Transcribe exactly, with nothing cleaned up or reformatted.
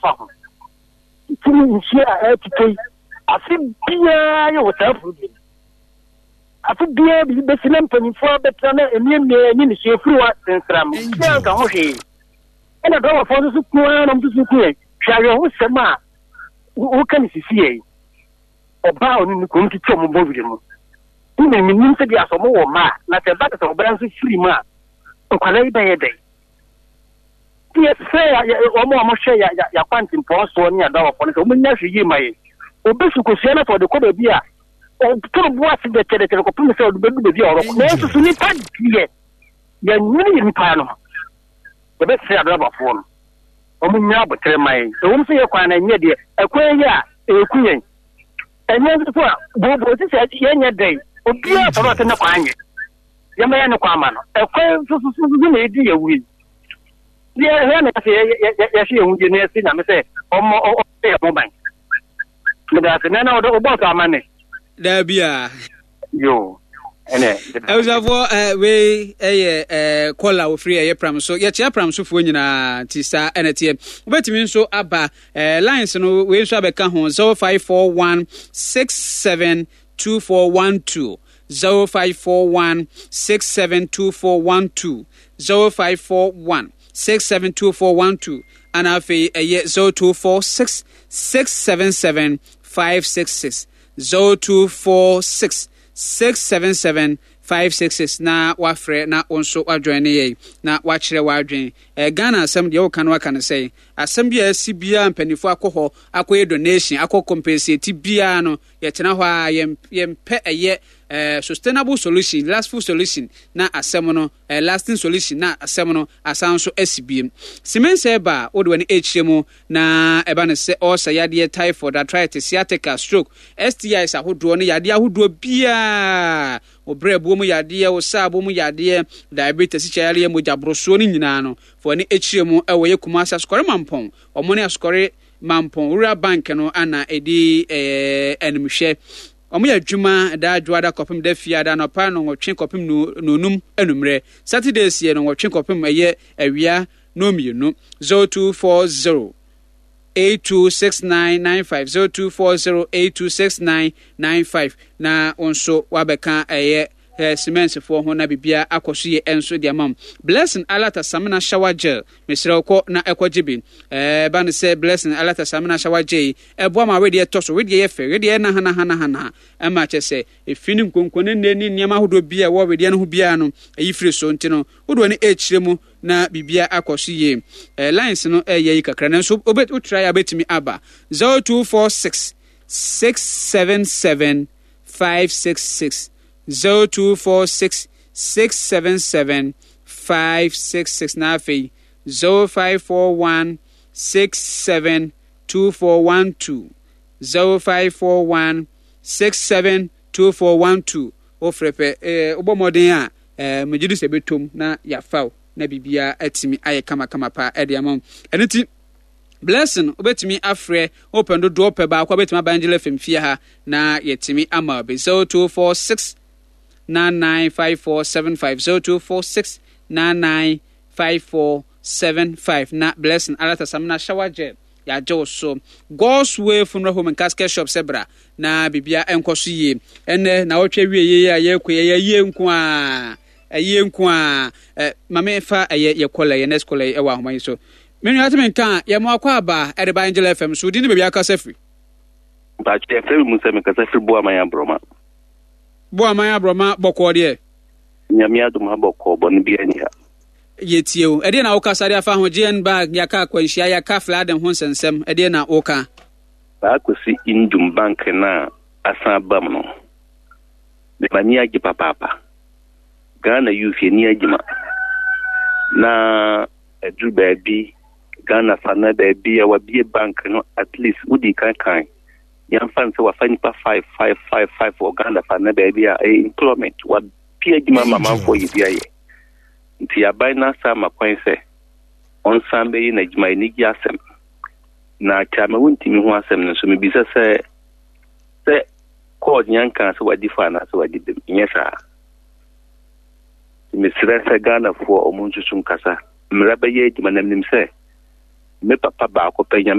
afa ho. Tumi nsuo a ɛretotɔ yi, afe biara yɛ wɔ saa problem. Afe biara biribi bɛsi na mpanyinfoɔ abɛtena na emiamia ani ne suo firi wa sensram. Biara nka ho hwee. Ɛna dɔwɔfoɔ nso so ku ara na wɔn nso so ku yɛn. Hwɛ awerɛhosɛm a woka ne sisi yɛn. Ɔbaa a ɔne ne kunu tete wɔn bɔ werɛ mu. Wone menim sɛ bi asɛ ɔmo wɔ mma a, na sɛ ɛba sɛ ɔbaa nso firi mu a, nkwadaa yi bɛyɛ dɛn? Nti yɛsrɛ wɔn a wɔhwɛ yɛakwantempɔn soɔ ne adawɔfoɔ no sɛ wɔnya hwɛ yie ma yɛn. Obi so kosua no sɛ ɔde kɔ baabi a ɔtoro bo ase dɛkyɛdɛkyɛ kɔpem sɛ ɔde bɛdu baabi a ɔrɔkɔ. Nanso so nipa deɛ yɛnwene yɛ nipa no ho. Yɛbɛsrɛ adrabafoɔ no wɔn nya abotere ma yɛn. Ɛwom sɛ yɛ kwan no ɛnyɛ deɛ ɛkwan yi a ɛku yɛn. Ɛnyɛ nso so a booboo sisi a yɛnyɛ dɛn. Obiara sɔrɔ ɔsɛ ne kwan nyɛ. Yɛmɛyɛ ne kwan ma no. Ɛkwan nso so so so na ɛdi yɛ wui. Yɛhwɛ na yɛsɛ yɛhwɛ yɛn ho yie na yɛsɛ Nyame sɛ ɔmmɔ ɔmmɔ yɛn ho ban. Meda ase. Nana ɔdɔ wobɔɔ so ama ne. Daabi a. Yo. Ɛnɛ. Abusuafoɔ eh, wei ɛyɛ eh, kɔla ofiri ɛyɛ pram so. Yɛkyea pram sofoɔ nyinaa nti saa ɛna teɛ. Wobɛtumi nso aba eh, lines no wei nso abɛka ho zero five four one six seven two four one two zero five four one six seven two four one two zero five four one six seven two four one two ana afei ɛyɛ zero two four six six seven seven five six six zero two four six six seven seven five six six na wafrɛ na wo nso wajoin ne yɛn na wakyerɛ w'adwen. eh, Ghana asɛm deɛ woka no waka no sɛn? Asɛm bi a asi biara mpanimfoɔ akɔ hɔ akɔyɛ donation akɔ compensate biara no, yɛtena hɔ a yɛn yɛmpɛ ɛyɛ eh, sustainable solution, lastful solution na asɛm no eh, lasting solution na asɛm no asan nso asi biem. Simensɛ ba a wode w'ani ɛkyerɛ mu na ɛba no sɛ ɔɔsa yadeɛ, typhoid, arthritis, sciatica, stroke, S T Is ahodoɔ ne yadeɛ ahodoɔ biara, wo brɛboɔ mu yadeɛ, wo saabo mu yadeɛ, diabetes, sikya yadeɛ, mogya borosoɔ no nyinaa no, fa w'ani ɛkyerɛ mu ɛwɔ yɛ Kumasi Asokɔre Mampɔn. Ɔmo ne Asokɔre Mampɔn Rural Bank no ana ɛdi ɛɛ animhwɛ. Ɔmo yɛ adwuma daa Dwoada kɔpem da Fiada anɔpa nɔnwɔtwe kɔpem nonum anummerɛ. Saturdays yɛ nɔnwɔtwe kɔpem ɛyɛ awia no mmienu. zero two four zero eight two six nine nine five, zero two four zero eight two six nine nine five, na wo nso wabɛka ɛyɛ eh, simensefoɔ ho na biribiara akɔ so yie nso de ama wo. Blessing Alata Samina shower gel, mesrɛ wo kɔ na ɛkɔgye bi. Ɛba no sɛ Blessing Alata Samina shower gel yi ɛboa ma wedeɛ ɛtɔ so, wedeɛ yɛ fɛ, wedeɛ yɛ nahanahanahana, ɛma kyɛ sɛ efi ne nkonko ne nne ne nneɛma ahodoɔ bi a ɛwɔ wedeɛ no ho biara no ɛyi firi so. Nti no wode w'ani ɛrekyerɛ mu na biribiara akɔ so yie. ɛɛ lines no ɛyɛ yi kakra, nanso wotra yɛ a wobɛtumi aba zero two four six six seven seven five six six, zero two four six six seven seven five six six, na afei zero five four one six seven two four one two, zero five four one six seven two four one two. Wofrɛ pɛ, ɛɛ wobɔ mmɔden a ɛɛ megye di sɛ ɛbɛtɔm na yɛafa wo na biribiara atumi ayɛ kamakama paa ɛde ama wo. Ɛno nti Blessing, wobɛtumi afrɛ wopɛ dodoɔ pɛ baako a wobɛtumi aba Angel F M fie ha na yɛtumi ama wo bi. zero two four six nine nine five four seven five, zero two four six nine nine five four seven five, na Blessing Alata Samina shower gel yɛagye wo so. God's Way Funeral Home and Casket Shop sɛ bra na biribia ɛnkɔ so yie. Ɛnɛ na wɔtwe wie yie a yɛkɔ yɛyɛ yie nko a ɛyie nko a ɛ maame fa ɛyɛ yɛ caller, yɛ next caller yi ɛwɔ ahoma yi so. Me nua tumi nka a yɛ mo akɔ aba ɛde ba Angel F M so, di ne baabi akasa firi. Mpakyɛ, yɛfrɛ me mu sɛ mekasa firi Boaman Aborɔma. Boaman Aborɔma, bɔkɔɔ deɛ? Nyame adom, ha bɔkɔɔ, bɔne bi ani ha. Yɛtie o. Ɛdeɛ na wokasa de afa ho? G N Bank yɛaka akwanhyia, yɛaka flooding ho nsɛnsɛm, ɛdeɛ na woka? Saa Kwasi Ndum Bank no a asan aba mu no, m'ani agye papaapa. Ghana youth yɛni agye ma na ɛduru baabi Ghana fa na baabi a wabie bank no, at least wodi kan kan yɛmfa no sɛ wafa nipa five five five five wɔ Ghana fa na baabi a ɛyɛ employment, wabie adwuma ma amanfoɔ yɛ bi ayɛ. Nti aban no asa ama kwan sɛ ɔnsan bɛyɛ n'adwuma, anigye asɛm. Na kyama wontumi ho asɛm no nso, mebisa sɛ sɛ court nyanka sɛ wadi fa anaasɛ wadi bem, nyɛ saa. Nti mesrɛ sɛ Ghanafoɔ ɔmo nsusu nkasa mmara bɛyɛ adwuma na menim sɛ me papa baako pɛ Nyame.